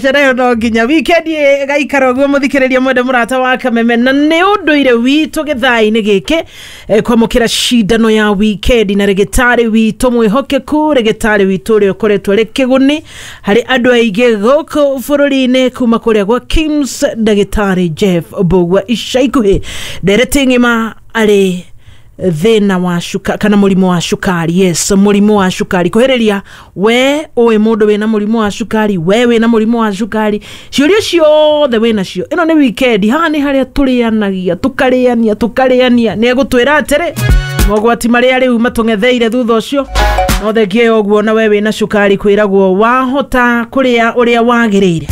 Sherehe no nginya weekend ĩgaikara ũguo mũthikĩrĩria mwende mũrata wa Kameme, na nĩ ũndũire witũ gĩthaa-inĩ gĩkĩ kwamũkĩra cindano ya weekend na rĩgĩtarĩ witũ mwĩhokeku, rĩgĩtarĩ witũ ũrĩa ũkoretwo arĩ kĩguni harĩ andũ aingĩ gũkũ bũrũri-inĩ kuma kũrĩa gwa KIMS, ndagĩtarĩ Jeff Mbũgua. Ica ikuhĩ ndereti ng'ima arĩ thĩna wa shuka kana mũrimũ wa cukari. Yes, mũrimũ wa cukari kũhĩrĩria we ũĩ mũndũ wĩna mũrimũ wa cukari, we wĩna mũrimũ wa cukari, ciũria ciothe wĩ nacio. Ĩno nĩ weekend, haha nĩ harĩa tũrĩanagia tũkarĩania tũkarĩania. Nĩ egũtwĩra atĩrĩ mogwati marĩa rĩu matũng'etheire thutha ũcio. No thengia ya ũguo, na we wĩna cukari kwĩragwo wahota kũrĩa ũrĩa wagĩrĩire,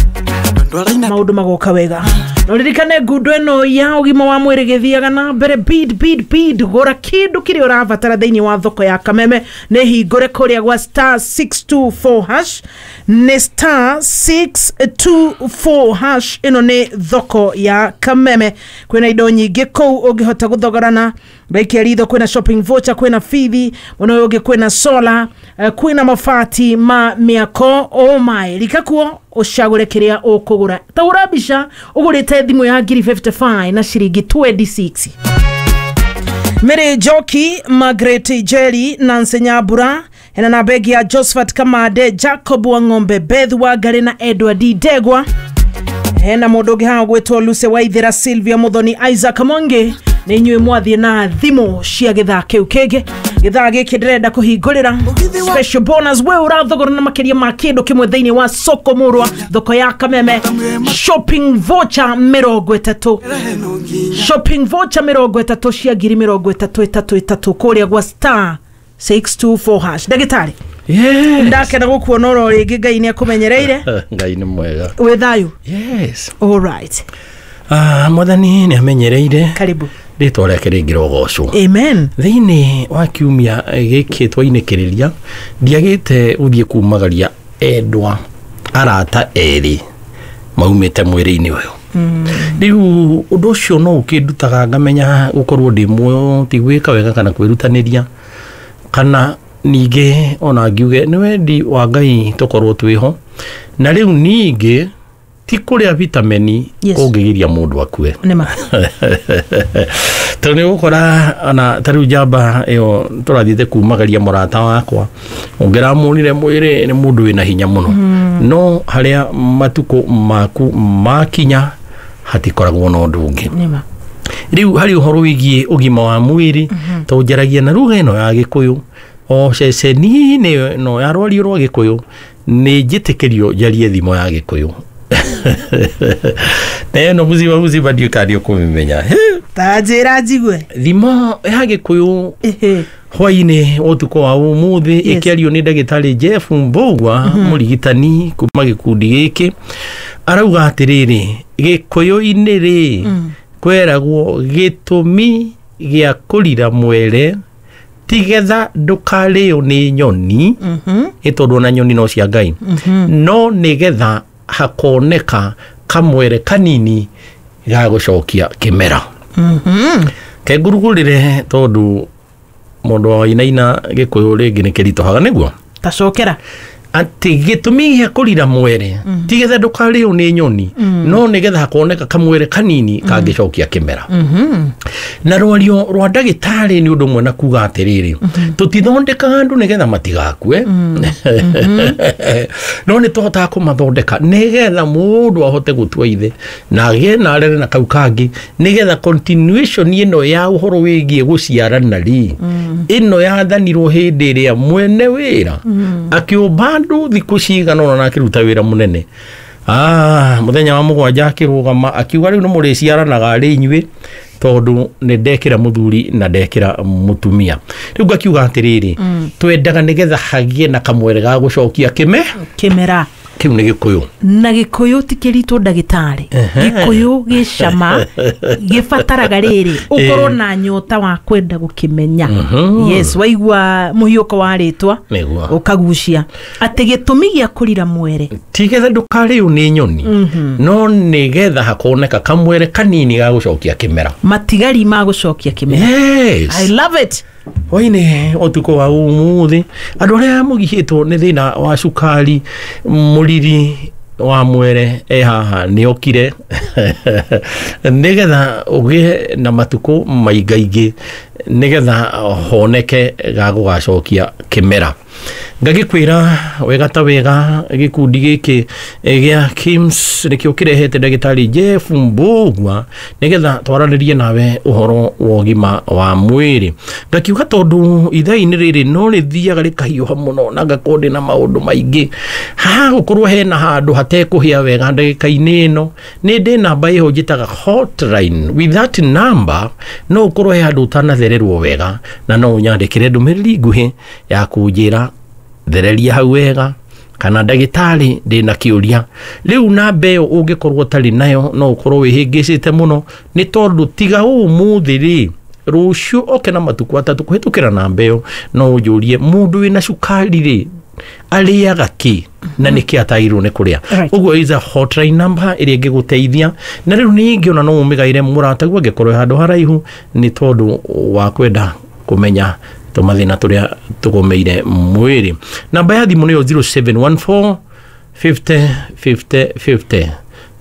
maũndũ magoka wega. No ririkane ngundo ĩno ya ũgima wa mwĩrĩ gĩthiaga na mbere. Bid, bid, bid, gũra kĩndũ kĩrĩa ũrabatara thĩinĩ wa thoko ya Kameme. Nĩ hingũre kũrĩa gwa *624#, nĩ *624#. Ĩno nĩ thoko ya Kameme, kwĩna indo nyingĩ kũu ũngĩhota gũthogorana. Raikia ritho, kwĩna shopping voucher, kwĩna bithi, mwena ũyũ ũngĩ kwĩna solar, kwĩna mabati ma mĩako. Oh my, rika kuo ũcagũre kĩrĩa ũkũgũra. Ta hũra mbica ũgũrĩte thimũ ya ngiri 55 na ciringi 26. Mary Njoki, Margaret Jerry, Nancy Nyambura, hena na begi ya Josephat Kamande, Jacob Wang'ombe, Beth Wangari na Edward Ndegwa. Hena mũndũ ũngĩ haha gwĩtwo Lucy Waithera, Sylvia Muthoni, Isaac Mwangi. Nĩ inyuĩ mwathiĩ na thimũ cia gĩthaa kĩu kĩngĩ. Gĩthaa gĩkĩ ndĩrenda kũhingũrĩra special bonus. We ũrathogora na makĩria ma kĩndũ kĩmwe thĩinĩ wa soko mũrwa, thoko ya Kameme, shopping voucher 30, shopping voucher 30 cia ngiri 30 ĩtatũ ĩtatũ kũrĩa gwa *624#. Ndagĩtarĩ, Yes. ndakena gũkuona oro rĩngĩ. Ngai nĩ akũmenyereire. Ngai nĩ mwega. Wĩ thayũ? Yes. All right. Ah, Mwathani nĩ amenyereire. Karibu. Rĩtwa rĩake rĩngĩrogocwo. Amen. Thĩinĩ wa kiumia gĩkĩ twainĩkĩrĩria, ndiagĩte gũthiĩ kumagaria endwa arata erĩ maumĩte mwĩrĩ-inĩ ũyũ. Rĩu ũndũ ũcio no ũkĩndutaga ngamenya gũkorwo ndĩ muoyo ti gwĩka wega kana kwĩrutanĩria, kana ningĩ ona ngiuge nĩ wendi wa Ngai tũkorwo twĩho. Na rĩu ningĩ ti kũrĩa vitamini kũngĩgiria mũndũ akue, nĩma tondũ nĩ ũgũkora ona ta rĩu njamba ĩyo tũrathiĩte kumagaria mũrata wakwa, ũngĩramuonire mwĩrĩ nĩ mũndũ wĩna hinya mũno, no harĩa matukũ maku makinya hatikoragwo na ũndũ ũngĩ. Rĩu harĩ ũhoro wĩgiĩ ũgima wa mwĩrĩ, tondũ njaragia na lugha ĩno ya Gĩkũyũ o ceceni-inĩ ĩno ya rwario rwa Gĩkũyũ, nĩ njĩtĩkĩrio njarie thimo ya Gĩkũyũ na ĩno mũcima mũcima ndiũĩ kana nĩ ũkũmĩmenya. Ta njĩra njigue. Thimo ya Gĩkũyũ hwainĩ ũtukũ wa ũmũthĩ ĩkĩario nĩ ndagĩtarĩ Jeff Mbũgua, mũrigitani kuma gĩkundi gĩkĩ, arauga atĩrĩrĩ, Gĩkũyũ-inĩ rĩ, kweragwo gĩtũmi gĩa kũrira mwere tigetha ndũkarĩo nĩ nyoni, ĩ tondũ ona nyoni no cia Ngai, no nĩgetha hakoneka kamwere kanini ga gũcokia kĩmera. Kengurugũrĩre tondũ mũndũ wa wainaina Gĩkũyũ rĩngĩ nĩ kĩritũhaga nĩguo. Tacokera. Atĩ gĩtũmi gĩa kũrira mwere tigetha ndũkarĩo nĩ nyoni, no nĩgetha hakoneka kamwere kanini kangĩcokia kĩmera. Na rwario rwa ndagĩtarĩ nĩ ũndũ ũmwe na kuga atĩrĩrĩ, tũtithondekaga andũ nĩgetha matigakue, no nĩ tũhotaga kũmathondeka nĩgetha mũndũ ahote gũtua ithe na agĩe na arere na kau kangĩ, nĩgetha continuation ĩno ya ũhoro wĩgiĩ gũciarana rĩ, ĩno yathanirwo hĩndĩ ĩrĩa mwene wĩra akĩũmba andũ thikũ cigana ũna na akĩruta wĩra mũnene. Mũthenya wa mũgwanja akĩrũgama akiuga, rĩu nĩ mũrĩciaranaga rĩ inyuĩ, tondũ nĩ ndekĩra mũthuri na ndekĩra mũtumia. Rĩu ngakiuga atĩrĩrĩ, twendaga nĩgetha hagĩe na kamwere ga gũcokia kĩme kĩmera. Kĩu nĩ Gĩkũyũ. Na Gĩkũyũ ti kĩritũ, ndagĩtarĩ. Gĩkũyũ gĩcama gĩbataraga rĩrĩ ũkorwo na nyota wa kwenda gũkĩmenya. Yes, waigua mũhiũko wa rĩtwa ũkagucia atĩ gĩtũmi gĩa kũrira mwere tigetha ndũkarĩo nĩ nyoni, no nĩgetha hakoneka kamwere kanini ga gũcokia kĩmera. Matigari ma gũcokia kĩmera. I love it. Hwainĩ ũtukũ wa ũmũthĩ, andũ arĩa mũgihĩtwo nĩ thĩna wa cukari, mũriri wa mwere e haha nĩ okire nĩgetha ũgĩe na matukũ maingaingĩ nĩgetha honeke ga gũgacokia kĩmera. Ngagĩkwĩra wega ta wega gĩkundi gĩkĩ gĩa KIMS nĩkĩo kĩrehete ndagĩtarĩ Jeff Mbugua nĩgetha twaranĩrie nawe ũhoro wa ũgima wa mwĩrĩ. Ngakiuga tondũ ithaa-inĩ rĩrĩ no rĩthiaga rĩkahiũha mũno na ngakorwo ndĩna maũndũ maingĩ, haha gũkorwo hena handũ hatekũhĩa wega ndagĩka-inĩ ĩno, nĩ ndĩ namba ĩho njĩtaga hotline. With that number no ũkorwo he handũ ũtanathererwo wega na no ũnyandĩkĩre ndũmĩrĩri nguhĩ ya kũnjĩra thereria hau wega kana ndagĩtarĩ ndĩna kĩũria. Rĩu namba ĩyo ũngĩkorwo ũtarĩ nayo no ũkorwo wĩhĩngĩcĩte mũno, nĩ tondũ tiga ũmũthĩ rĩ, rũciũ oke na matukũ atatũ kũhĩtũkĩra namba ĩyo no ũnjũrie mũndũ wĩna cukari rĩ arĩaga kĩ na nĩkĩ atagĩrĩirwo nĩ kũrĩa. Ũguo is a hotline number ĩrĩa ĩngĩgũteithia. Na rĩu ningĩ ona no ũmĩgaĩre mũrataguo angĩkorwo e handũ haraihu nĩ tondũ wa kwenda kũmenya tũmathĩna tũrĩa tũgũmĩire mwĩrĩ. Namba ya thimũ nĩyo 0714 50 50 50,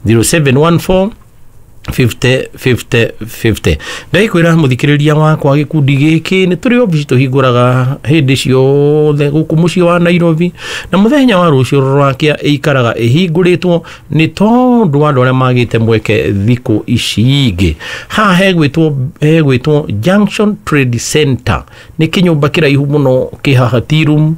0714 50 50 50. Ndakwĩra mũthikĩrĩria wakwa gĩkundi gĩkĩ nĩ tũrĩ obici tũhingũraga hĩndĩ ciothe gũkũ mũciĩ wa Nairobi, na mũthenya wa rũciũ rũrakia ĩikaraga ĩhingũrĩtwo nĩ tondũ wa andũ arĩa magĩte mweke thikũ ici ingĩ. Haha hegwĩtwo Junction Trade Center, nĩ kĩnyũmba kĩraihu mũno kĩ haha tea room,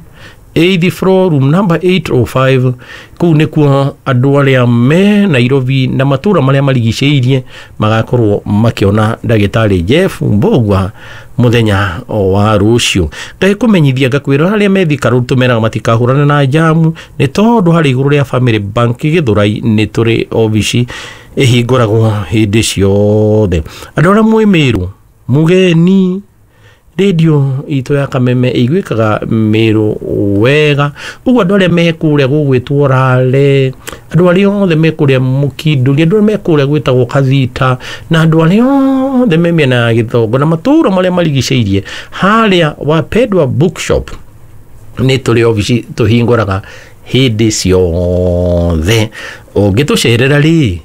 8th floor, room number 805. Kũu nĩkuo andũ arĩa me Nairobi na matũra marĩa marigicĩirie magakorwo makĩona ndagĩtarĩ Jeff Mbugua mũthenya wa rũciũ. Ngagĩkũmenyithia ngakwĩra arĩa me Thika Road tũmeraga matikahũrane na njamu nĩ tondũ harĩ igũrũ rĩa Family Bank Gĩthũrai nĩ tũrĩ obici ĩhingũragwo hĩndĩ ciothe. Andũ arĩa mwĩ Mĩrũ mũgeni, radio itũ ya Kameme ĩiguĩkaga Mĩrũ wega. Ũguo andũ arĩa me kũrĩa gũgwĩtwo Rale, andũ arĩa othe me kũrĩa Mũkindũri, andũ arĩa me kũrĩa gwĩtagwo Kathita, na andũ arĩa othe me mĩena ya Gĩthongo na matũũra marĩa marigicĩirie, harĩa Wapendwa Bookshop nĩ tũrĩ obici tũhingũraga hĩndĩ ciothe. Ũngĩtũcerera rĩ,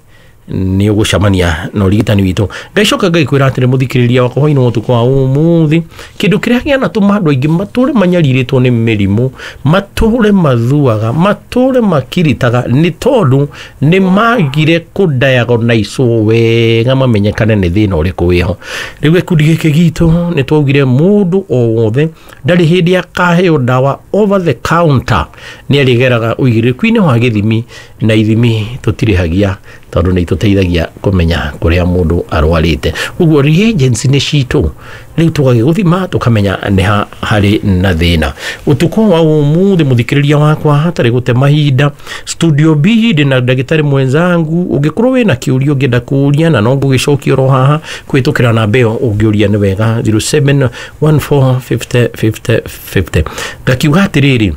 nĩ ũgũcemania na ũrigitani witũ. Ngaicoka ngaikwĩra atĩrĩ mũthikĩrĩria wakwa hwainĩ wa ũtukũ wa ũmũthĩ, kĩndũ kĩrĩa kĩanatũma andũ aingĩ matũre manyarirĩtwo nĩ mĩrimũ, matũre mathuaga, matũre makiritaga, nĩ tondũ nĩ magire kũdiagnosewo wega mamenyekane nĩ thĩna ũrĩkũ wĩho. Rĩu gĩkundi gĩkĩ gitũ nĩ twaugire mũndũ o wothe ndarĩ hĩndĩ akaheo ndawa over the counter, nĩ arĩgeraga ũigĩrĩrĩku-inĩ wa gĩthimi, na ithimi tũtirĩhagia tondũ nĩ itũteithagia kũmenya kũrĩa mũndũ arwarĩte. Ũguo reagents nĩ citũ, rĩu tũgagĩgũthima tũkamenya nĩ ha harĩ na thĩna. Ũtukũ wa ũmũthĩ mũthikĩrĩria wakwa, hatarĩ gũte mahinda, studio B ndĩ na ndagĩtarĩ mwenzangu. Ũngĩkorwo wĩna kĩũria ũngĩenda kũũria na no ngũgĩcokia oro haha kũhĩtũkĩra namba ĩyo ũngĩũria nĩ wega 0714 50 50 50. Ngakiuga atĩrĩrĩ,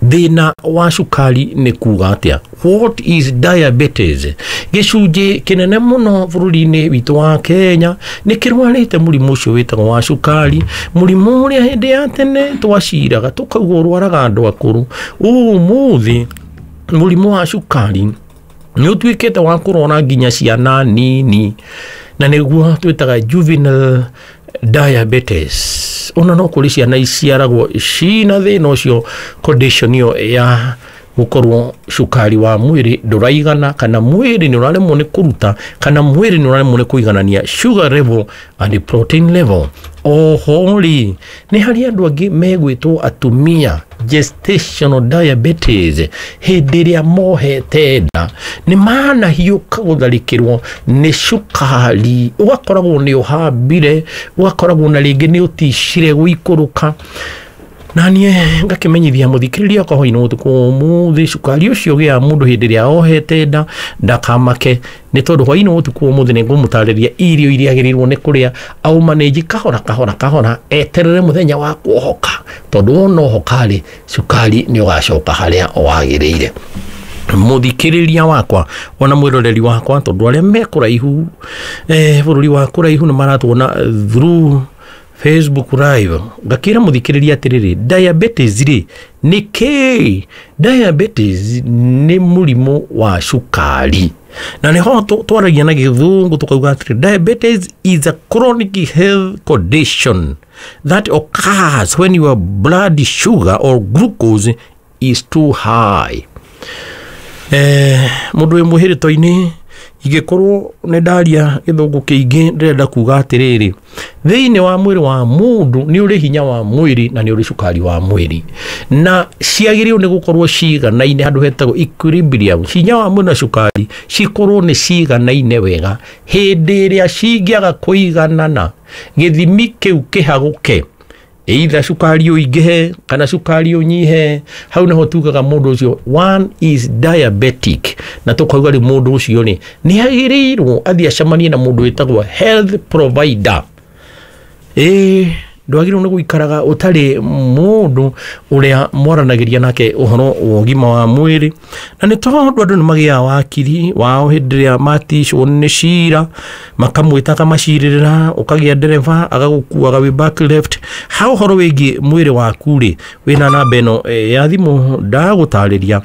thĩna wa cukari nĩ kuga atĩa? What is diabetes? Gĩcunjĩ kĩnene mũno bũrũri-inĩ witũ wa Kenya nĩ kĩrwarĩte mũrimũ ũcio wĩtagwo wa cukari, mũrimũ ũrĩa hĩndĩ ya tene twaciraga tũkauga ũrwaraga andũ akũrũ. Ũmũthĩ mũrimũ wa cukari nĩ ũtuĩkĩte wa kũrwara nginya ciana nini, na nĩguo twĩtaga juvenile diabetes. Ona no kũrĩ ciana iciaragwo cina thĩna ũcio, condition ĩyo ya gũkorwo cukari wa mwĩrĩ ndũraigana, kana mwĩrĩ nĩ ũraremwo nĩ kũruta, kana mwĩrĩ nĩ ũraremwo nĩ kũiganania sugar level and protein level. Oho rĩ, nĩ harĩ andũ angĩ megwĩtwo atumia gestational diabetes, hĩndĩ ĩrĩa mohete nda nĩ manahiũka gũtharĩkĩrwo nĩ cukari, ũgakoragwo nĩ ũhambire, ũgakoragwo na rĩngĩ nĩ ũticire gũikũrũka. Na niĩ ngakĩmenyithia mũthikĩrĩria wakwa hwainĩ ũtukũ ũmũthĩ, cukari ũcio ũgĩaga mũndũ hĩndĩ ĩrĩa ohete nda ndakamake, nĩ tondũ hwainĩ ũtukũ ũmũthĩ nĩ ngũmũtarĩria irio iria agĩrĩirwo nĩ kũrĩa aũmanĩnji kahora kahora kahora, eterere mũthenya wa kuohoka, tondũ wona ohoka rĩ, cukari nĩ ũgacoka harĩa wagĩrĩire. Mũthikĩrĩria wakwa ona mwĩroreri wakwa, tondũ arĩa me kũraihu, bũrũri wa kũraihu nĩ maratuona through Facebook live ngakĩra mũthikĩrĩria atĩrĩrĩ, diabetes rĩ nĩ kĩĩ? Diabetes nĩ mũrimũ wa cukari, na nĩho twaragia na gĩthũngũ tũkauga atĩrĩ, diabetes is a chronic health condition that occurs when your blood sugar or glucose is too high. Mũndũ wĩ mwĩhĩrĩto-inĩ, ingĩkorwo nĩ ndaria gĩthũngũ kĩingĩ, ndĩrenda kuga atĩrĩrĩ, thĩinĩ wa mwĩrĩ wa mũndũ nĩ ũrĩ hinya wa mwĩrĩ na nĩ ũrĩ cukari wa mwĩrĩ, na ciagĩrĩirwo nĩ gũkorwo ciganaine handũ hetagwo equilibrium. Hinya wa mwĩrĩ na cukari cikorwo nĩ ciganaine wega. Hĩndĩ ĩrĩa cingĩaga kũiganana, gĩthimi kĩu kĩhagũke, either cukari ũingĩhe kana cukari ũnyihe, hau nĩho tugaga mũndũ ũcio one is diabetic. Na tũkauga rĩu mũndũ ũcio rĩ nĩ agĩrĩirwo athiĩ acemanie na mũndũ wĩtagwo health provider. Ĩĩ, ndwagĩrĩirwo nĩ gũikaraga ũtarĩ mũndũ ũrĩa mwaranagĩria nake ũhoro wa ũgima wa mwĩrĩ. Na nĩ tondũ andũ nĩ magĩaga wakiri wao hĩndĩ ĩrĩa maticwo nĩ cira, makamwĩta akamacirĩrĩra, ũkagĩa ndereba agagũkuaga wĩ back left. Ha ũhoro wĩgiĩ mwĩrĩ waku rĩ, wĩna namba ĩno ya thimũ ndagũtarĩria,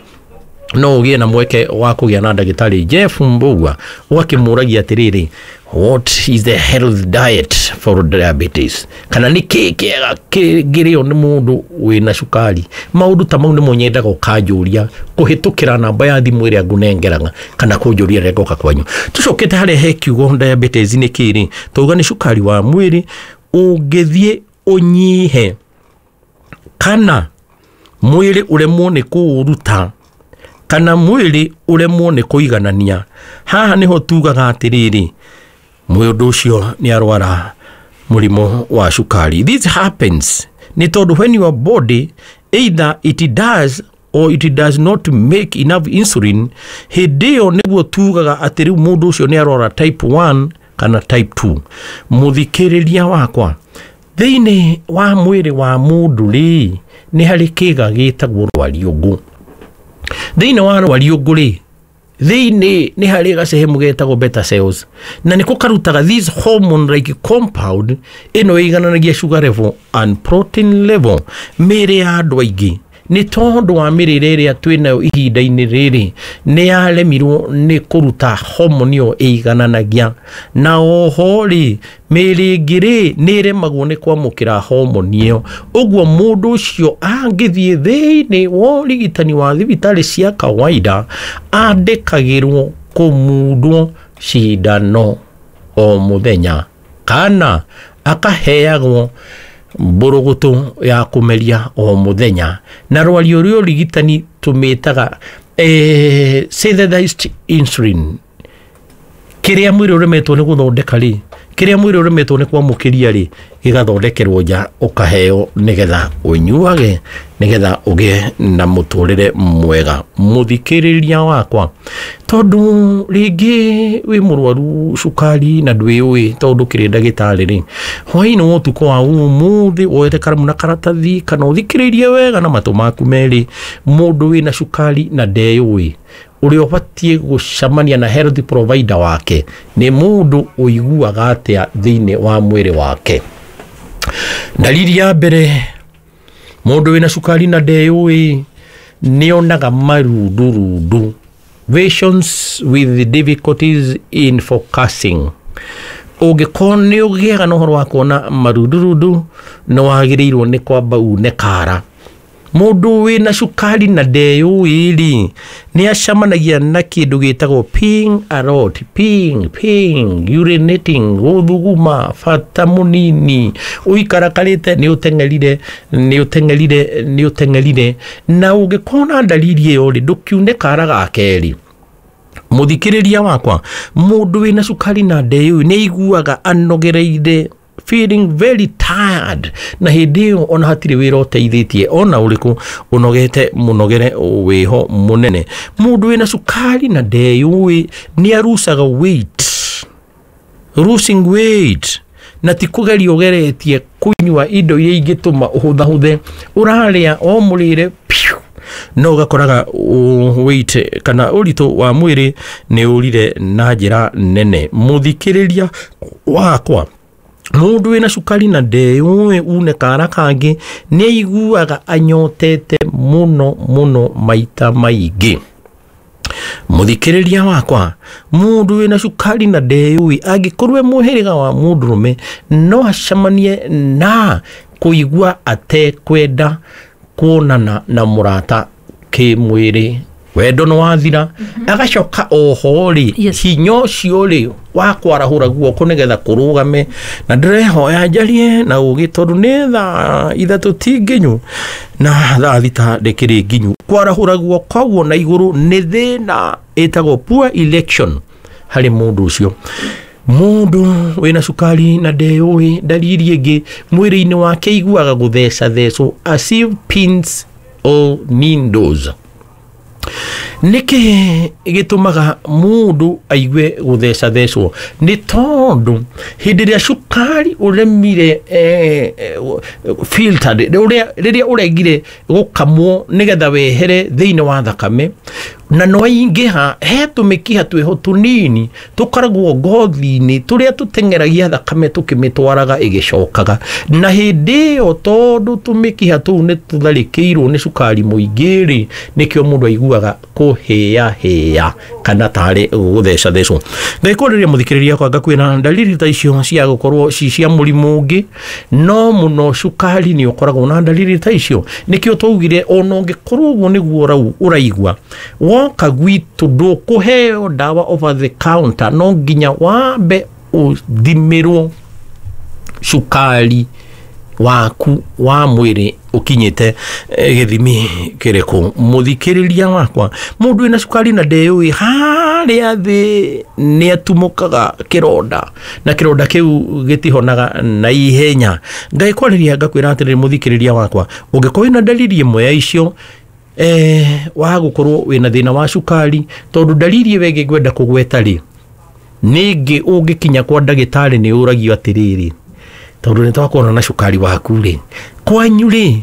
no ũgĩe na mweke wa kũgĩa na ndagĩtarĩ Jeff Mbugua, ũgakĩmũragia atĩrĩrĩ, what is the health diet for diabetes, kana nĩ kĩĩ kĩega kĩngĩrĩo nĩ mũndũ wĩna cukari. Maũndũ ta mau nĩmo nyendaga ũkanjũria kũhĩtũkĩra namba ya thimũ ĩrĩa ngũnengeraga, kana kũnjũria rĩrĩa ngoka kwanyu. Tũcokete harĩa he kiugo diabetes nĩ kĩĩ rĩ, twauga nĩ cukari wa mwĩrĩ ũngĩthiĩ ũnyihe kana mwĩrĩ ũremwo nĩ kũũruta kana mwĩrĩ ũremwo nĩ kũiganania. Haha nĩho tugaga atĩrĩrĩ, mũndũ ũcio nĩ arwara mũrimũ wa cukari. This happens nĩ tondũ when your body either it does or it does not make enough insulin, hĩndĩ ĩyo nĩguo tugaga atĩ rĩu mũndũ ũcio nĩ arwara type 1 kana type 2. Mũthikĩrĩria wakwa, thĩinĩ wa mwĩrĩ wa mũndũ rĩ, nĩ harĩ kĩga gĩtagwo rwariũngũ. Thĩinĩ wa rwariũngũ rĩ, thĩinĩ nĩ harĩ gacehemu getagwo beta cells, na nĩko karutaga this hormone like compound ĩno ĩigananagia sugar level and protein level. Mĩĩrĩ ya andũ aingĩ nĩ tondũ wa mĩrĩre ĩrĩa twĩnayo ihinda-inĩ rĩrĩ nĩ yaremirwo nĩ kũruta hormone ĩyo ĩigananagia, na oho rĩ mĩĩrĩ ĩngĩ rĩ nĩ ĩremagwo nĩ kwamũkĩra hormone ĩyo. Ũguo mũndũ ũcio angĩthiĩ thĩinĩ wa ũrigitani wa thibitarĩ cia kawaida, andĩkagĩrwo kũmundwo cindano o mũthenya kana akaheagwo mbũrũgũtũ ya kũmeria o mũthenya. Na rwario rwa ũrigitani tũmĩtaga synthesized insulin. Kĩrĩa mwĩrĩ ũremetwo nĩ gũthondeka rĩ, kĩrĩa mwĩrĩ ũremetwo nĩ kwamũkĩria rĩ, gĩgathondekerwo nja ũkaheo nĩgetha ũnyuage, nĩgetha ũgĩe na mũtũrĩre mwega. Mũthikĩrĩria wakwa, tondũ rĩngĩ wĩ mũrwaru cukari na ndwĩũĩ tondũ ndũkĩrĩ ndagĩtarĩ rĩ, hwaĩ-inĩ wa ũtukũ wa ũmũthĩ woete karamu na karatathi kana ũthikĩrĩrie wega na matũ maku merĩ, mũndũ wĩna cukari na ndeyũĩ, ũrĩa ũbatiĩ gũcemania na health provider wake nĩ mũndũ ũiguaga atĩa thĩinĩ wa mwĩrĩ wake. Dalili ya mbere, mũndũ wĩna cukari na ndeyũĩ nĩonaga marundurundu, visions with difficulties in focusing. Ũngĩkorwo nĩ ũgĩaga na ũhoro wa kuona marundurundu, nĩ wagĩrĩirwo nĩ kwamba une kara. Mũndũ wĩna cukari na ndeyũĩ rĩ, nĩ acemanagia na kĩndũ gĩtagwo peeing a lot, peeing, peeing, urinating, gũthuguma, bata mũnini, ũikarakarĩte nĩ ũteng'erire, nĩ ũteng'erire, nĩ ũteng'erire. Na ũngĩkorwo na dalili ĩyo rĩ, ndũkiune kara ga kerĩ. Mũthikĩrĩria wakwa, mũndũ wĩna cukari na ndeyũĩ nĩ aiguaga anogereire, feeling very tired, na hĩndĩ ĩyo ona hatirĩ wĩra ũteithĩtie ona ũrĩkũ, ũnogete mũnogere wĩho mũnene. Mũndũ wĩna cukari na ndeyũĩ nĩ arucaga weight, losing weight, na ti kũgeria ũgeretie kũnyua indo iria ingĩtũma ũhũthahũthe, ũrarĩa o mũrĩre piu, no ũgakoraga weight kana ũritũ wa mwĩrĩ nĩ ũrire na njĩra nene. Mũthikĩrĩria wakwa, Mundu wina cukari na ndeyũĩ une kara kangĩ nĩ aiguaga anyotete mũno mũno maita maingĩ. Mũthikĩrĩria wakwa, mũndũ wĩna cukari na ndeyũĩ angĩkorwo e mũhĩrĩga wa mũndũrũme no acemanie na kũigua atekwenda kuonana na mũrata kĩmwĩrĩ, wendo nĩ wathira. Agacoka oho rĩ, Yes. hinya ũcio rĩ wa kwarahũra guoko nĩgetha kũrũgame, na ndĩrehoya njarie na ũgĩ tondũ nĩ thaa 3 ti nginyu na thaa 6 ndĩkĩrĩ nginyu. Kwarahũra guoko ũguo na igũrũ nĩ thĩna ĩtagwo poor election harĩ mũndũ ũcio. Mũndũ wĩna cukari na ndeyũĩ, ndariri ĩngĩ mwĩrĩ-inĩ wake aiguaga gũthecathecwo as if pins or needles. Nĩkĩ gĩtũmaga mũndũ aigue gũthecathecwo? Nĩ tondũ hĩndĩ ĩrĩa cukari ũremire filtered, rĩrĩa ũregire gũkamwo nĩgetha wehere thĩinĩ wa thakame na no aingĩha, he tũmĩkiha twĩho tũnini tũkoragwo ngothi-inĩ tũrĩa tũteng'eragia thakame tũkĩmĩtwaraga ĩgĩcokaga, na hĩndĩ ĩyo tondũ tũmĩkiha tũu nĩ tũtharĩkĩirwo nĩ cukari mũingĩ rĩ, nĩkĩo mũndũ aiguaga kũhĩahĩa kana tarĩ gũthecathecwo. Ngaikorĩria mũthikĩrĩria kwanga kwĩna ndariri ta icio cia gũkorwo ci cia mũrimũ ũngĩ, no mũno cukari nĩ ũkoragwo na ndariri ta icio. Nĩkĩo twaugire ona ũngĩkorwo ũguo nĩguo ũraigua, woka gwitũ ndũkũheo ndawa over the counter, no nginya wambe ũthimĩrwo cukari waku wa mwĩrĩ ũkinyĩte gĩthimi kĩrĩkũ. Mũthikĩrĩria wakwa, mũndũ wĩna cukari na ndeyũĩ harĩa thĩ nĩ atumũkaga kĩronda na kĩronda kĩu gĩtihonaga na ihenya. Ngaikwarĩria ngakwĩra atĩrĩrĩ mũthikĩrĩria wakwa, ũngĩkorwo wĩna ndariri ĩmwe ya icio wa gũkorwo wĩna thĩna wa cukari, tondũ ndariri ĩyo ĩngĩ ngwenda kũgweta rĩ, nĩngĩ ũngĩkinya kwa ndagĩtarĩ nĩ ũragio atĩrĩrĩ, tondũ nĩ twakuona na cukari waku rĩ, kwanyu rĩ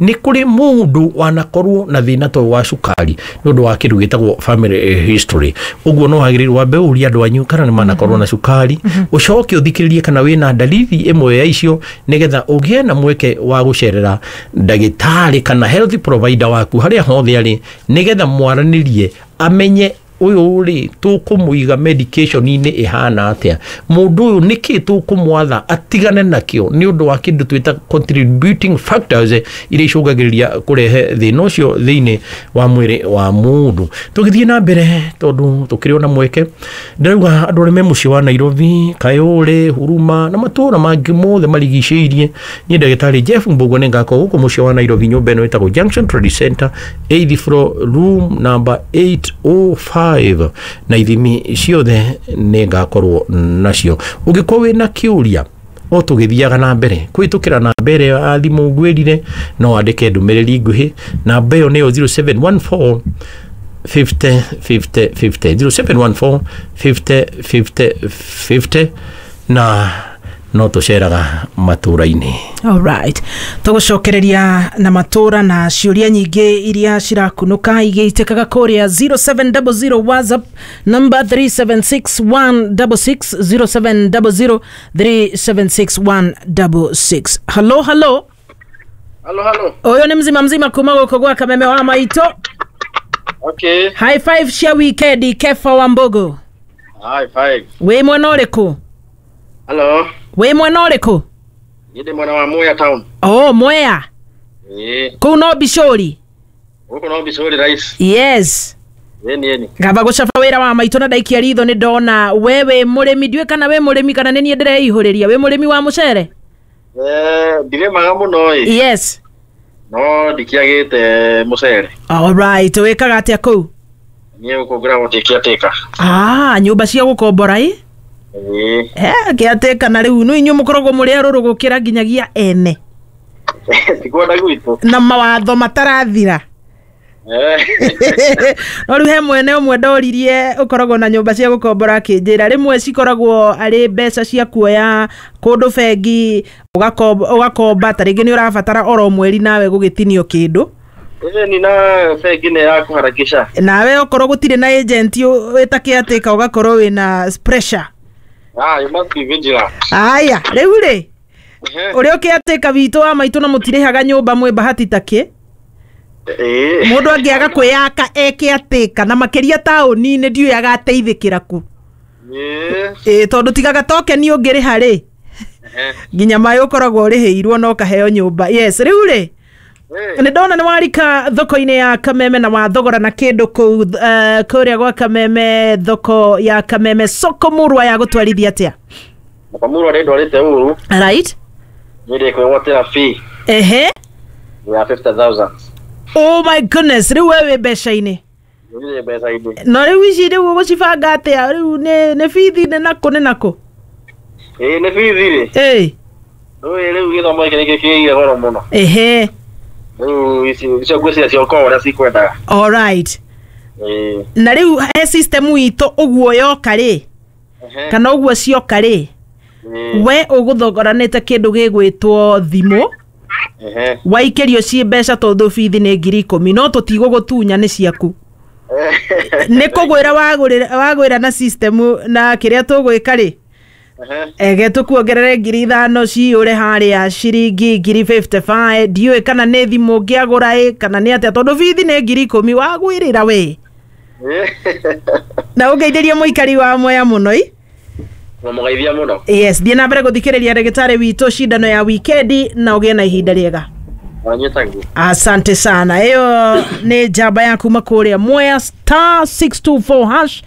nĩ kũrĩ mũndũ wanakorwo na thĩna ta ũyũ wa cukari nĩ ũndũ wa kĩndũ gĩtagwo family history. Ũguo no wagĩrĩirwo wambe ũrie andũ anyu kana nĩ manakorwo na cukari, ũcoke ũthikĩrĩrie kana wĩna ndariri ĩmwe ya icio nĩgetha ũgĩe na mweke wa gũcerera ndagĩtarĩ kana health provider waku harĩa hothe arĩ, nĩgetha mwaranĩrie amenye ũyũ rĩ tũkũmũiga medication-inĩ ĩhana atĩa, mũndũ ũyũ nĩkĩ tũkũmwatha atigane nakĩo nĩ ũndũ wa kĩndũ twĩta contributing factors iria icũngagĩrĩria kũrehe thĩna ũcio thĩinĩ wa mwĩrĩ wa mũndũ. Tũgĩthiĩ na mbere tondũ tũkĩrĩ ona mweke, ndĩrauga andũ arĩa me mũciĩ wa Nairobi, Kayole, Huruma na matũũra mangĩ mothe marigicĩirie, niĩ ndagĩtarĩ Jeff Mbugua nĩ ngakorwo gũkũ mũciĩ wa Nairobi nyũmba ĩno ĩtagwo Junction Trade Center, 8th floor, room number 805, na ithimi ciothe nĩ ngakorwo nacio. Ũngĩkorwo wĩna kĩũria o tũgĩthiaga na mbere kũhĩtũkĩra namba ĩrĩa ya thimũ ngwĩrire, no wandĩke ndũmĩrĩri nguhĩ, namba ĩyo nĩyo 0714 50 50 50, 0714 50 50 50, na no tũceraga matũra-inĩ. Alright. Tũgũcokereria na matũra na ciũria nyingĩ iria cirakunũka igĩitĩkaga kũrĩa 0700 WhatsApp number 376166, 0700 376166. Hello, hello. Halo, halo. Ũyũ nĩ mzima mzima kuma gũkũ gwa Kameme wa Maitũ. Okay. High five cia wikendi Kefa wa Mbogo. High five. Wĩ mwena ũrĩkũ? Halo. Wĩ mwena ũrĩkũ? Niĩ ndĩ mwena wa Mwea town. Oh, Mwea. Ĩĩ. Kũu no Bicũri. Gũkũ no Bicũri rice. Yes. Ĩni ĩni. Ngamba gũcaba wĩra wa maitũ na ndaikia ritho nĩ ndona we wĩ mũrĩmi, ndiũĩ kana wĩ mũrĩmi kana nĩ niĩ ndĩreihũrĩria, wĩ mũrĩmi wa mũcere? Ndirĩmaga mũno ĩ. Yes. No ndikĩagĩte mũcere. Alright, wĩkaga atĩa kũu? Niĩ gũkũ ngoragwo ndĩ caretaker. Ah, nyũmba cia gũkombora ĩ? Ĩĩ. Caretaker na rĩu nĩ inyuĩ mũkoragwo mũrĩ arũrũ gũkĩra nginyagia ene. Tikwenda gwitũ. Na mawatho matarathira. No rĩu he mwene ũmwe ndoririe ũkoragwo na nyũmba cia gũkombora akĩnjĩra rĩmwe cikoragwo arĩ mbeca cia kuoya kũndũ bengi ũgakomba ta rĩngĩ nĩ ũrabatara oro mweri nawe gũgĩtinio kĩndũ. Ĩni na bengi nĩ ya kũharakisha. Nawe okorwo gũtirĩ na agent wĩta caretaker ũgakorwo wĩna pressure. Ah, you must be vigilant. Aya, rĩu rĩ ũrĩa ũkĩatĩka witũ wa maitũ na mũtirĩhaga nyũmba mwĩ bahati takĩ. Mũndũ angĩaga kwĩyaka ekĩatĩka na makĩria taũni-inĩ ndiũĩ agateithĩkĩra kũ. Ĩĩ tondũ tigaga tokeni ũngĩrĩha rĩ nginya maĩ ũkoragwo ũrĩhĩirwo na ũkaheo nyũmba. Yes, rĩu rĩ nĩ ndona nĩ warika thoko-inĩ ya Kameme na wathogora na kĩndũ kũu kũrĩa gwa Kameme, thoko ya Kameme soko murwa ya gũtwarithia atĩa? Makamurwa rĩ ndwarĩte uru. Right. Nĩ ndĩkwĩgwatĩra fee ya 50,000. Oh my goodness, rĩu we wĩ mbeca-inĩ. Nĩ mbeca-inĩ. No rĩu ici rĩu ũgũcibanga atĩa rĩu nĩ bithi nĩ nakũ nĩ nakũ? Ĩĩ nĩ bithi rĩ. Ĩĩ. Rĩu rĩu gĩthomo gĩkĩ nĩkĩo kĩgĩire goro mũno. Rĩu ici icio ngwĩciria cioka ũrĩa cikwendaga. All right. Ĩĩ. Na rĩu he system itũ ũguo yoka rĩ kana ũguo cioka rĩ we ũgũthogoranĩte kĩndũ gĩgwĩtwo thimũ waikĩrio ciĩ mbeca tondũ bithi nĩ 10,000 no tũtigũgũtunya nĩ ciaku nĩ kũgwĩra wagwĩra na system na kĩrĩa tũgwĩka rĩ ege tũkuongerere 5,000 ciyũre harĩa ciringi 55,000 ndiũĩ kana nĩ thimũ ũngĩagũra ĩ kana nĩ atĩa tondũ bithi nĩ 10,000 wagwĩrĩra we na ũngeithĩrie mũikari wa Mwea mũno i. Mũgeithia mũno. Yes, thiĩ na mbere gũthikĩrĩria ndagĩtarĩ witũ cindano ya wikendi na ũgĩe na ihinda rĩega. Wanyitagwo. Asante sana. Ĩyo nĩ njamba ya kuma kũrĩa Mwea *624 hash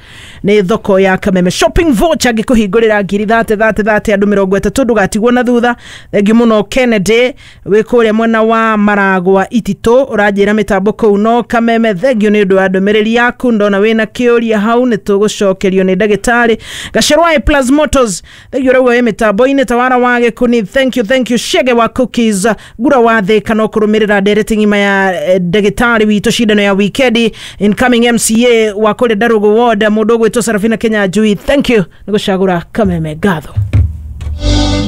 nĩ thoko ya Kameme shopping voucher ngĩkũhingũrĩra ngiri thate thate thate andũ 30 ndũgatigwo na thutha. Thengiũ mũno Kennedy wĩ kũrĩa mwena wa Maragwa Ititũ ũranjĩra mĩtambo kũu no Kameme. Thengiũ nĩ ũndũ wa ndũmĩrĩri yaku ndona wĩna kĩũria hau nĩ tũgũcokerio nĩ ndagĩtarĩ Gacerwa A Plus Motors. Thengiũ ũrauga wĩ mĩtambo-inĩ tawara wa Gĩkuni. Thank you, thank you Shege wa Cookies Ngura wa Thĩka no kũrũmĩrĩra ndereti ng'ima ya ndagĩtarĩ witũ cindano ya wikendi incoming MCA wa kũrĩa Ndarugu Ward mũndũ ũgwĩtwo Sarafina Kenya Njui. Thank you nĩ gũcagũra Kameme ngatho.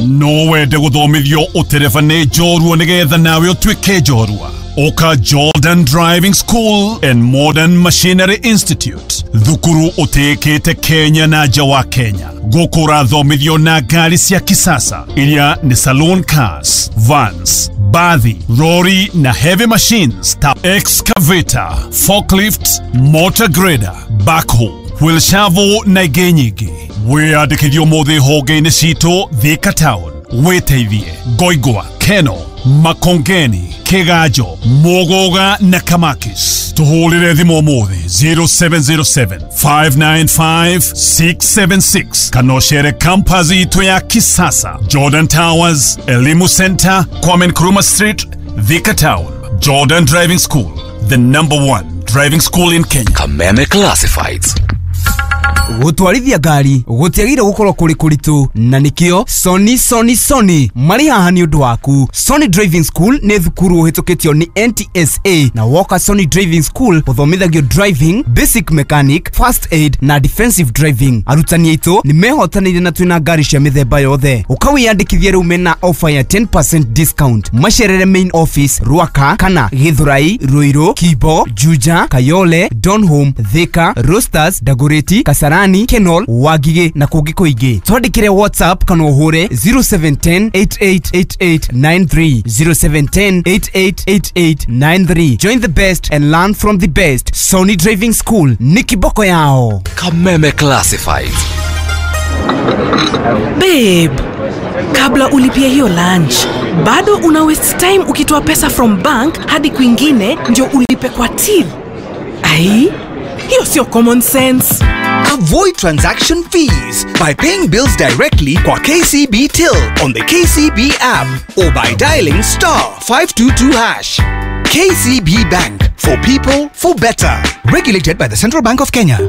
No wende gũthomithio ũtereba nĩ njorua nĩgetha nawe ũtuĩke njorua. Oka Jordan Driving School and Modern Machinery Institute, thukuru ũtĩĩkĩte Kenya na nja wa Kenya. Gũkũ ũrathomithio na ngari cia kisasa iria nĩ saloon cars, vans, bathi, lorry na heavy machines ta excavator, forklift, motor grader, backhoe, wheel shovel na ingĩ nyingĩ. Wĩyandĩkithio ũmũthĩ honge-inĩ citũ Thika Town, wĩteithie Ngoingwa, Keno, Makongeni, Kiganjo, Muguga na Kamakis. Tuhũrĩre thimũ ũmũthĩ 0707 595 676 kana ũcere campus itũ ya kisasa Jordan Towers, Elimu Center, Kwame Nkrumah Street, Thika Town. Jordan Driving School, the number one driving school in Kenya. Kameme Classifieds. Gũtwarithia ngari gũtiagĩrĩire gũkorwo kũrĩ kũritũ na nĩkĩo Sony Sony Sony marĩ haha nĩ ũndũ waku. Sony Driving School nĩ thukuru ũhĩtũkĩtio nĩ NTSA na woka Sony Driving School ũthomithagio driving, basic mechanic, first aid na defensive driving. Arutani aitũ nĩ mehotanĩire na twĩna ngari cia mĩthemba yothe. Ũkawĩyandĩkithia rĩu mena offer ya 10% discount. Macerere main office Ruaka kana Githurai, Ruiru, Kibo, Juja, Kayole, Donholm, Thika, Roasters, Dagoretti, Kasarani, Kenol, Wangigĩ na kũngĩ kũingĩ. Twandĩkĩre WhatsApp kana ũhũre 0710 888893 0710 888893. Join the best and learn from the best. Sony Driving School ní kiboko yao. Kameme Classifieds. Babe, kabla ulipie hiyo lunch, bado una waste time ukitoa pesa from bank hadi kwingine ndio ulipe kwa till. Ai, hiyo sio common sense. Avoid transaction fees by paying bills directly kwa KCB Till on the KCB app or by dialing star 522 hash. KCB Bank for people for better. Regulated by the Central Bank of Kenya.